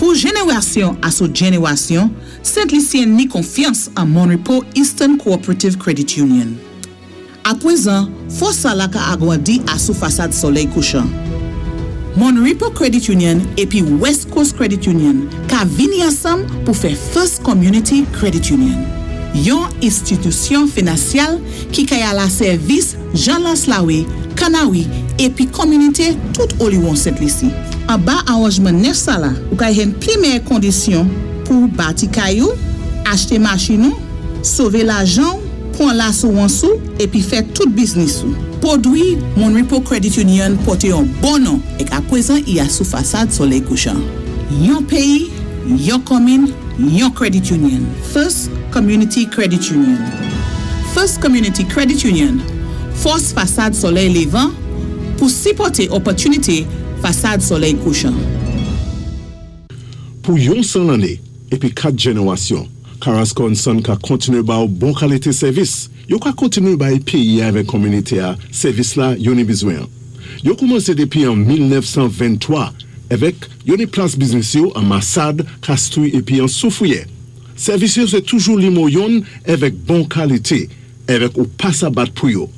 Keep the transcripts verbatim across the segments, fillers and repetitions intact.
Pou jénéwasyon asou jénéwasyon, Sent Lisyen ni konfyans an Mon Repos Eastern Cooperative Credit Union. Apwézan, fòs sa la ka agwandi asou fasad Solèy Kouchan. Mon Repos Credit Union épi West Coast Credit Union ka vini ansanm pou fè First Community Credit Union. Yon enstitisyon finansyal ki kay ala sèvis Jean Laslawe, Kanawi épi kominité tout oliwon Sent Lisi. Anba awanjman nèf sa la, ou kay jwenn pli méyè kondisyon pou bati kay ou, achté machin ou, sové lajan, pwan lasirans ou, épi fè tout biznis ou. Pwodwi Mon Repos Credit Union pòté yon bon non ék apwézan i asou fasad Solèy Kouchan. Yon péyi, yon komin, yon credit union. First Community Credit Union. First Community Credit Union. Fòs fasad Solèy Lévan pou sipòté opòtinité fasad Solèy Kouchan. Pou yon san lanné épi kat jénéwasyon, Carrasco and Son ka kontiné ba ou bon kalité sèvis. Yo ka kontiné bay péyi avèk kominité a sèvis la yo ni bizwen. Yo koumansé dépi an mil nèf san venntwa avèk yo ni plas biznis yo an Massade, Castries épi an Soufrière. Sèvis yo sé toujou nimewo youn avèk bon kalité, avèk ou pa sa bat pou yo.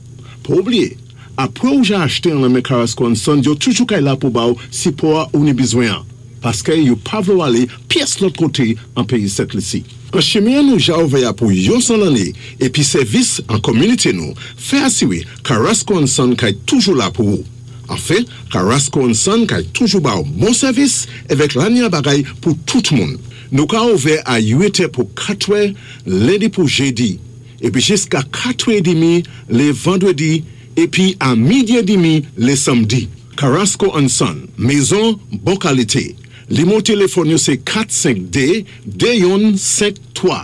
Pa oubliyé, apwé ou ja achté an lanmen Carrasco and Son, yo toujou kay la pou ba ou sipò a ou ni bizwen. Paské yo pa vlé ou alé pyès lòt koté an péyi Sent Lisi. An chimen nou ja ouvè pou yon san lanné épi sèvis an kominité nou, fè asiwé Carrasco and Son kay toujou la pou ou. Anfen, Carrasco and Son kay toujou ba ou bon sèvis avèk lanya bagay pou tout moun. Nou ka ouvè a uit è pou katwè, lendi pou jédi, épi jiska katwè édmi lé vandwédi, épi a midi édmi lé sanmdi. Carrasco and Son, mézon bon kalité. Nimewo téléfòn yo sé kat senk dé de youn senk twa.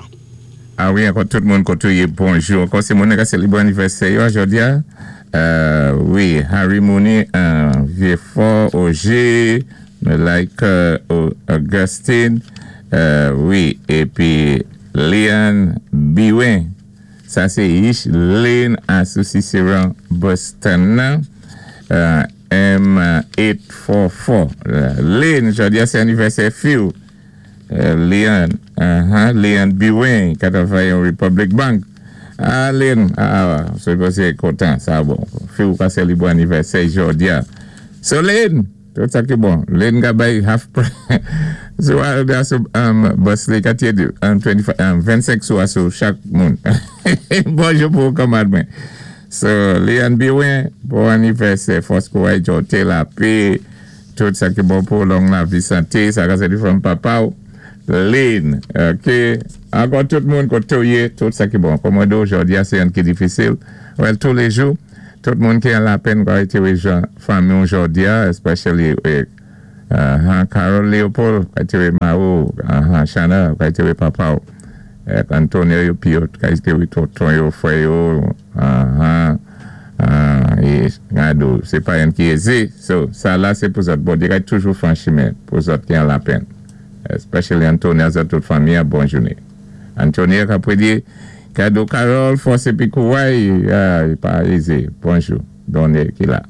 A wi, ankò tout moun koté ou yé, bonjou. Ankò sé moun ka sélébré anivèsè yo jòdi a. Euh, wi, Harry Mooney, euh, Vieux-Fort, Auger, like Augustine, euh, wi, épi Leon Biwen. Sa sé Ish Lane asou Cicéron Boston nan. Euh, M eight four four. Lane, jòdi a sé anivèsè fi ou. Euh, Leon, uh-huh, Leon Biwen, ki travay an Republic Bank. Ah, Lane, ah, sé kontan, sa bon. Fi ou ka sélébré anivèsè jòdi a. So, Lane, tout sa ki bon. Lane ka bay half price. So, sou um, bus li katye um, twenty-five, um, vennsenk sou asou chak moun. Bonjou pou kanmad mwen. So, Leon Biwen, bon anivèsè, fòs kouray jòté lapè, tout sa ki bon pou long lavi, santé, sa ka sé di from papa ou. Lane, ok. Ankò tout moun koté ou yé, tout sa ki bon. Kòmòdo, jòdi a sé youn ki difisil. Well, tous les jours, tout moun ki an lapenn kwa été wé jan fanmi ou jòdi a, especially eh, uh, Carol Leopold, kwa été wé ma ou, uh, Shana, kwa été wé papa ou. Eh, Antonio yo pi yo, kwa été wé tonton yo, frè yo, uh, uh, é gado, sé pa youn ki ézé. So, sa la sé pou zòt. Bon, dirè toujou fè chimen pou zòt ki an lapenn. Especially Antonio, zòt tout fanmi, bon jounen. Antonio ka prédit kado Carol, fòs épi kouray, ah, pa ézé. Bonjou. Donné ki la.